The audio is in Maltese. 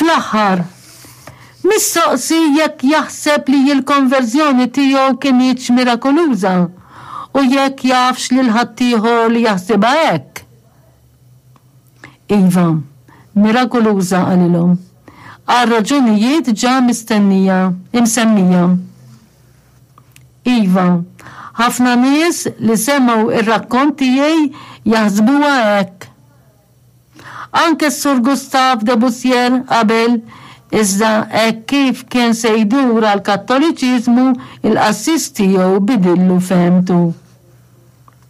Fl-aħħar, mistoqsi jekk jaħseb li l-konverżjoni tiegħu kinitx mirakoluża u jekk jafx lil ħaddieħor li jaħsibha hekk. Iva, mirakoluża qalilhom, għal raġunijiet ġa mistennija, imsemmija. Iva, ħafna nies li semgħu r-rakkont tiegħi jaħsbuha hekk. Anke s-Sur Gustave de Bussière qabel, iżda hekk kif kien se jdur għall-Kattoliċiżmu, il-qassis tiegħu bidillu fehmtu.